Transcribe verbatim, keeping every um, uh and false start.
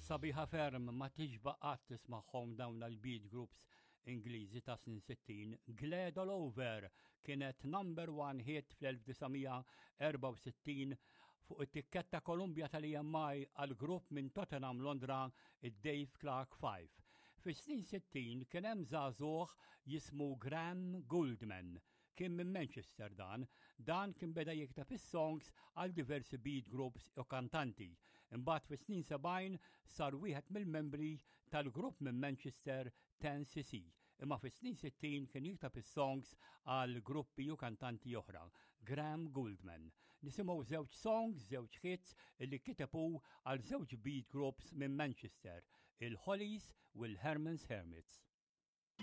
Sabiħa ferm, ma tixba qatt tismagħhom dawn l-beat groups Ingliżi ta' snin sittin. Glad All Over kienet number one hit fl-elf disa' mija erbgħa u sittin fuq it-tikketta Columbia tal-E M I għal grupp minn Tottenham, Londra, id-Dave Clark Five. Fis-snin sittin kien hemm żagħżugħ jismu Graham Gouldman. Kien minn Manchester dan. Dan kien beda jikteb is-songs għal diversi beat groups u kantanti. Imbagħad fis-snin sebgħin sar wieħed mill-membri tal-grupp minn Manchester ten C C. Imma fis-snin sittin kien jikteb is-songs għal gruppi u kantanti oħra. Graham Gouldman. Nisimgħu żewġ songs, żewġ hits li kiteb hu għal żewġ beat groups minn Manchester, il-Hollies u l-Herman's Hermits.